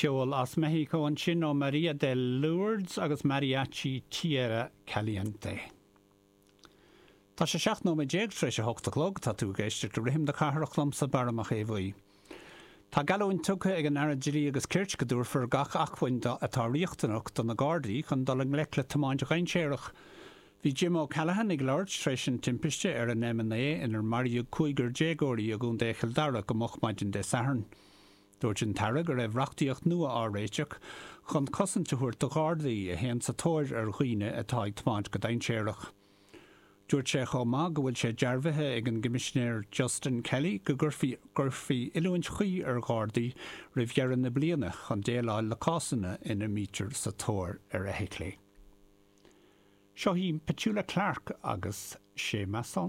Ceol as Meicsiceo ansin ó Maria de Lourdes agus Mariachi Tierra Caliente. Tá sé 17 nóiméad tar éis a hocht a chlog, tá tú ag éisteacht le Rithim na Cathrach liomsa, Barra Mac Aodha Bhuí. Tá geallúint tugtha ag an Aire Dlí agus Cirt go dtabharfar gach acmhainn atá riachtanach do na Gardaí chun dul i ngleic le tiomáint dhainséarach. Bhí Jim O'Callaghan ag labhairt tar éis an timpiste ar an M9 inar maraíodh cúigear déagóirí i gContae Chill Dara go moch maidin Dé Sathairn. Dúirt an tAire go raibh reachtaíocht nua á réiteach chun cosaint a thabhairt do Ghardaí a théann sa tóir ar dhaoine atá ag tiomáint go dainséarach. Dúirt sé chomh maith go bhfuil sé dearbhaithe ag an gCoimisinéir Justin Kelly go gcuirfí gcuirfí oiliúint chuí ar Ghardaí roimh dheireadh na bliana chun déileáil le cásanna ina mbítear sa tóir ar fheithiclí. Seo í Petula Clark agus C'est ma chanson.